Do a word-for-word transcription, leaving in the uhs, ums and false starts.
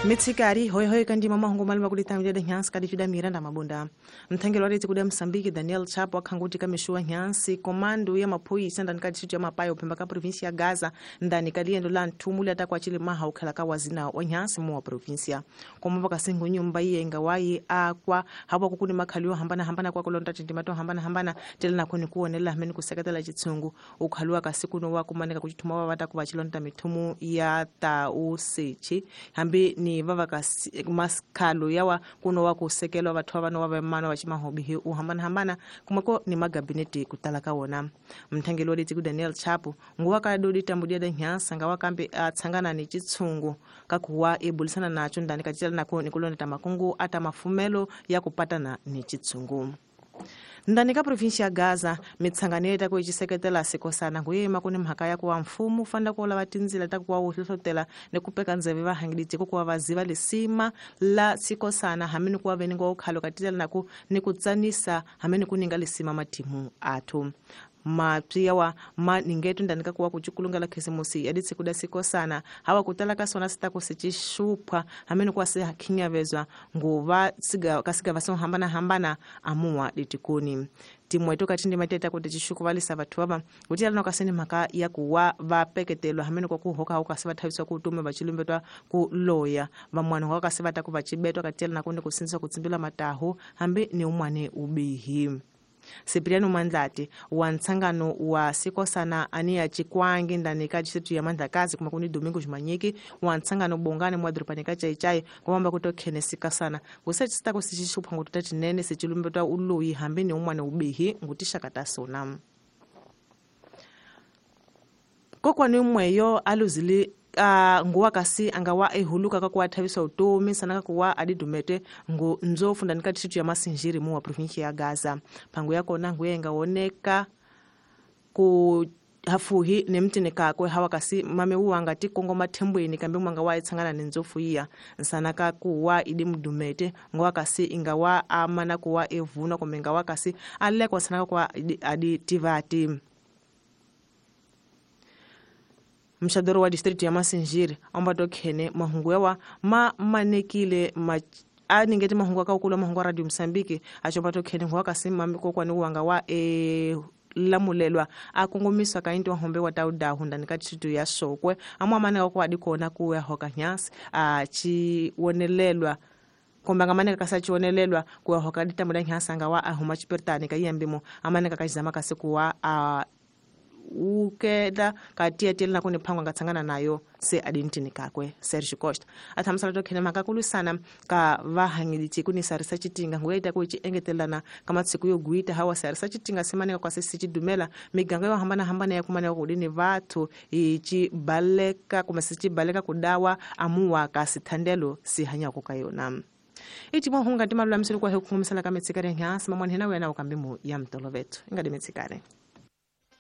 Mitsikari hoi hoi kandi mama hongo malima kulitambia de nyansi kadi chuda Miranda Mabunda. Mthengelo wa kuda Msambiki Daniel Chapo akhanguti kamishua nyansi komando ya maphoyisa ndani ka district ya Mapayo phemba ka province ya Gaza ndani ka liendo la nthumuli atakwa chile maha ukhala ka wazina wa nyansi mu wa province. Komba kasingu nyumba iyenga wayi akwa hapo kukuni makhaliwa hambana hambana kwa kulonda tindimato hambana hambana tele na kuni kuonela hameni kuseketela chitsungu ukhaliwa kasikuno wa kumaneka kuchithuma wa vata chilonda mithumu ya tausechi hambi ni vava maskalo yawa kuno wa kusekelwa vathu vano wa vemano wa chimahobihi uhambana hambana kumako ni magabineti kutala kawona. Mthangelo wa ku Daniel Chapo nguwa kadodi tambudia da nyansa ngawa kambe atsangana ni chitsungu kakuwa ebulisana nacho ndani kachitala nako nikulonda tamakungu ata mafumelo ya kupatana ni chitsungu. Ndani ka province ya Gaza mitsanganeta ku ichiseketela sikosana nguyema kuni mhaka ya kuwa mfumo fanda kuola vatinzila ta kuwa uhlohlotela ni kupeka ndzeve vahangilitse ku kuwa vaziva lisima la sikosana hamini kuwa veningo ukhalo katitela naku ni kutsanisa hamini kuninga lisima matimu athu. Mapya wa ma ningetu ndani ka kuwa kuchukulungala khisimusi yaditse kuda sikosana hawa kutala ka sona sita kusichishupa hamene kwa se hakinyavezwa nguva siga kasiga vaso hambana hambana amuwa ditikuni timweto katindi mateta kuti chishuku valisa vathu ava kuti alano kaseni mhaka ya kuwa vapeketelwa hamene kwa kuhoka hoka se vathaviswa kutume vachilumbetwa ku loya vamwana wa kasi vata ku vachibetwa katela na kundi kusinzisa kutsimbila matahu hambi ni umwane ubihi. Cipriano Mandlati wa ntsangano wa sikosana ania chikwangi ndani ka district ya Mandlakazi kuma kuni Domingo Jumanyiki wa ntsangano bongane mwa dropani ka chaichai kwamba kutokhene sikasana kusachista kusichishupa ngututa tinene sichilumbetwa uloyi hambi ni umwane ubihi ngutishakata sona. Kokwani umweyo aluzili Uh, nguwa kasi angawa ehuluka kakuwa thaviswa utomi sana kakuwa adidumete ngu nzofu ndani ka district ya Masinjiri mu wa province ya Gaza. Pangu yako na nguye ngaoneka ku hafuhi ne mtini kakwe hawa kasi mame uwanga tikongo mathembweni kambe mwanga wa itsangana ne nzofu iya nsana kakuwa idi mdumete nguwa kasi ingawa amana kuwa evuna kumbe ngawa kasi alekwa sana kakuwa adi tivati. Mshadoro wa district ya Masinjiri ambato khene mahungu ma manekile ma aningeti mahungu ka ukula mahungu Radio Msambiki achopato khene ngwa kasima miko kwani uwanga wa e lamulelwa akongomiswa ka into hombe wa tauda hunda ka district ya Sokwe amwa maneka kwa dikona kuya hoka nyasi a chi wonelelwa komba maneka kasachionelelwa kuya hoka ditamula nyasanga wa ahuma chipertani ka yambimo amaneka kachizama kasikuwa a ukeda katia tele na kuni phangwa ngatsangana nayo se adintini kakwe Sergio Costa athamsala to khene makakulusana ka vahangilitsi kuni sarisa chitinga ngoita kuchi engetelana kama tsiku yo guita hawa sarisa chitinga semaneka kwa sisi chidumela miganga yo hambana hambana ya kumana kudini vathu ichi baleka kuma sichi baleka kudawa amuwa kasithandelo sihanya kukayona. Iti mohunga timalula msulu kwa hukumisala kametsikare nyasi mamwanhena wena ukambimu ya mtolovetu ingadi metsikare.